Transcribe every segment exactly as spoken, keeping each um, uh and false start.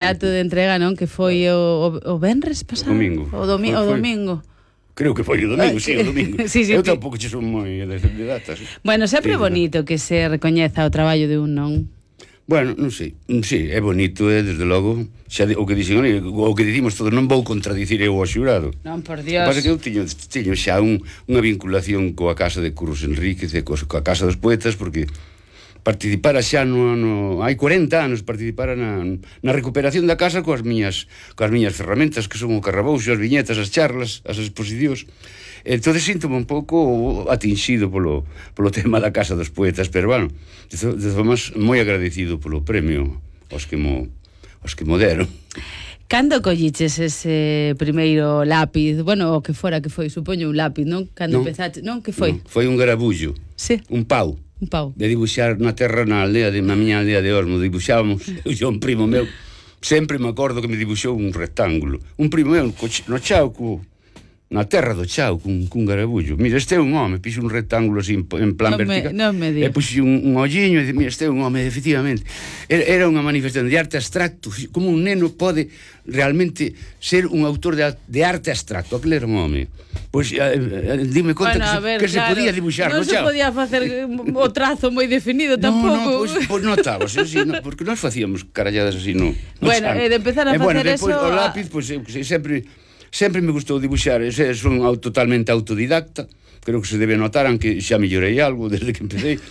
Ato de entrega, non? Que foi o, o, o venres pasado? O domingo. O, domi o domingo. Creo que foi o domingo, sí, o domingo. Sí, sí, Eu sí. tampouco che son moi de, de datas. Bueno, sempre é Sí, bonito que se recoñeza o traballo de un, non? Bueno, non sei, sí, é bonito, é, desde logo, xa de, o que dixen, o que dicimos todos, non vou contradicir eu ao xurado. Non, por O Dios. que pasa que eu tiño, tiño xa un, unha vinculación coa casa de Curros Enríquez e coa, coa casa dos poetas, porque participara xa no, no hai corenta anos, participara na, na recuperación da casa coas miñas coas miñas ferramentas, que son o carrabouxo, as viñetas, as charlas, as exposicións. Entón síntome un pouco atinxido polo, polo tema da Casa dos Poetas, pero bueno, de formas moi agradecido polo premio aos que mo, aos que mo deron. Cando colliches ese primeiro lápiz? Bueno, o que fora que foi, supoño un lápiz, non? Cando non, empezaste, non? Que foi? Non, foi un garabullo, sí. un pau. Un pau. De dibuixar na terra, na aldea, de, na miña aldea de Osmo, dibuxábamos, eu e un primo meu, sempre me acordo que me dibuxou un rectángulo. Un primo meu, no Chauco, na terra do Chao, cun, cun garabullo. Mira, este é un home, pixo un rectángulo así en plan non vertical. Me, non me digas. E puxo un, un olliño e dice, mira, este é un home, efectivamente. Era, era unha manifestación de arte abstracto, como un neno pode realmente ser un autor de, de arte abstracto. Aquele era un home. Pois, eh, eh, dime conta bueno, que, se, ver, que claro, se podía dibuixar non no se Chao. podía facer o trazo moi definido tampouco. No, no, pois, pois notabas, así, no, porque nós facíamos caralladas así, no, no Bueno, Chao. e de empezar a e, facer bueno, depois, eso... o lápiz, pois, eu, sempre... Sempre me gustou dibuixar, é son totalmente autodidacta, creo que se debe notar, aunque xa mellorei algo desde que empecé,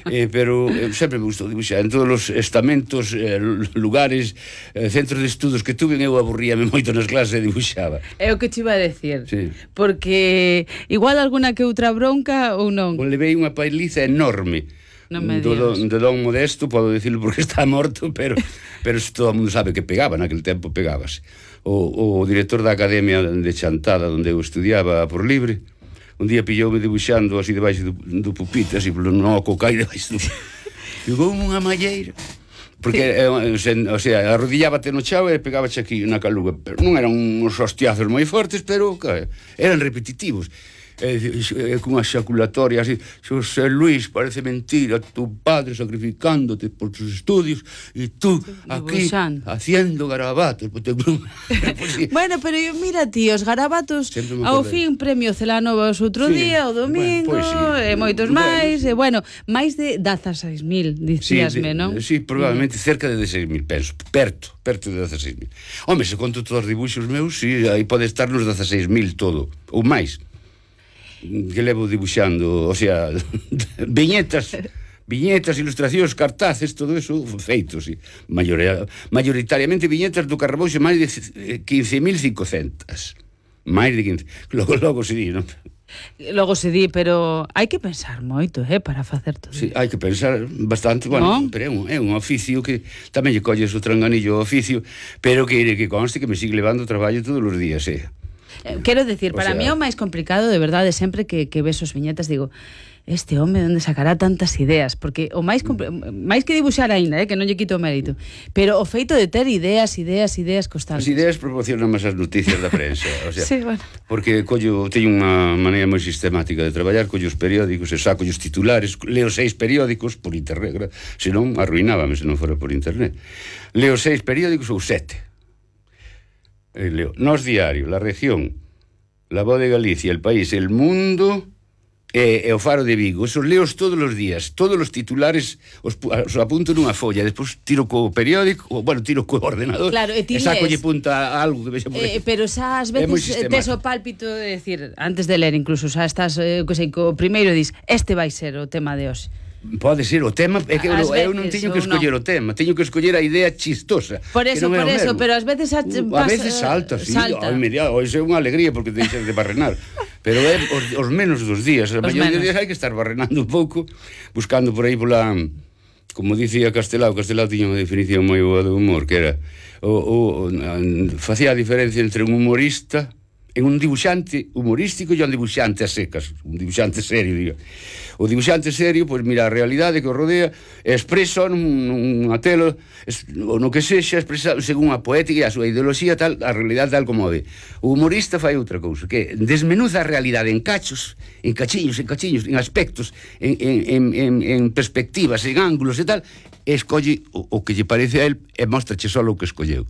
eh, pero eh, sempre me gustou dibuixar. En todos os estamentos, eh, lugares, eh, centros de estudos que tuve, eu aburríame moito nas clases e dibuixaba. É o que te iba a decir, sí. Porque igual alguna que outra bronca ou non? O levei unha pailiza enorme. Non me do, digas. de don Modesto, podo dicirlo porque está morto, pero, pero todo o mundo sabe que pegaba, naquele tempo pegabas. O, o director da Academia de Chantada, onde eu estudiaba por libre, un día pilloume dibuixando así debaixo do, do pupite, así polo noco, cai debaixo do... Pegoume unha malleira, porque, eh, o sea, arrodillábate no chao e pegábache aquí na caluga, pero non eran uns hostiazos moi fortes, pero que, eran repetitivos. É dicir, con unha xaculatoria así, Xosé Luis, parece mentira, tu padre sacrificándote por tus estudios e tú aquí haciendo garabatos. Bueno, pero mira ti, os garabatos ao fin premio Celanova outro sí, día, o domingo, bueno, pues sí, e moitos máis, e bueno, máis de dezaseis mil, dicíasme, sí, non? Sí, probablemente mm. cerca de dezasseis mil, penso, perto, perto de dezasseis mil. Home, se conto todos os dibuixos meus, sí, aí pode estar nos dezasseis mil todo, ou máis. Que levo dibuixando, o sea, viñetas, viñetas, ilustracións, cartaces, todo eso feito, sí. Mayoria, mayoritariamente viñetas do Carrabouxo, máis de quince mil cincocentas. Máis de quince. Logo, logo se di, non? Logo se di, pero hai que pensar moito, eh, para facer todo. Sí, hai que pensar bastante, bueno, ¿no? Pero é un, é un oficio que tamén lle colles o tranganillo ao oficio, pero que, que conste que me sigue levando traballo todos os días, eh. Quero decir, para o sea, mí é o máis complicado, de verdade, sempre que, que ves os viñetas, digo, este home onde sacará tantas ideas, porque o máis máis que dibuixar aínda, eh, que non lle quito o mérito, pero o feito de ter ideas, ideas, ideas constantes. As ideas proporcionan máis as noticias da prensa, o sea, sí, bueno. Porque collo, teño unha maneira moi sistemática de traballar, collo os periódicos, e saco os titulares, leo seis periódicos por internet, senón arruinábame se non fora por internet. Leo seis periódicos ou sete. Leo Nos Diario, La Región, La Voz de Galicia, El País, El Mundo e, e o Faro de Vigo. Esos leos todos os días, todos os titulares os, os apunto nunha folla, despois tiro co periódico, ou, bueno, tiro co ordenador, claro, e, e saco lle punta a algo que vexa por aí. Eh, pero xa ás veces tes o pálpito de decir, antes de ler incluso, xa estás, eh, que sei, co primeiro dis, este vai ser o tema de hoxe. Pode ser o tema, é que eu, veces, eu non teño que escoller no. o tema, teño que escoller a idea chistosa. Por eso, por eso, pero ás veces a, uh, a veces salta, sí, salta. Ao inmediato, hoxe é unha alegría porque deixas de barrenar. Pero é os, os menos dos días, a maioría dos días hai que estar barrenando un pouco, buscando por aí pola, como dicía Castelao, Castelao tiña unha definición moi boa do humor, que era o, o, o facía a diferencia entre un humorista en un dibuixante humorístico e un dibuixante a secas, un dibuixante serio, diga. O dibuixante serio, pois mira a realidade que o rodea, expresa nunha tela, ou no que sexa, expresa según a poética e a súa ideoloxía tal, a realidade tal como ve. O humorista fai outra cousa, que desmenuza a realidade en cachos, en cachiños, en cachiños, en aspectos, en, en, en, en perspectivas, en ángulos e tal, escolle o, o que lle parece a él e mostrache só o que escolleu.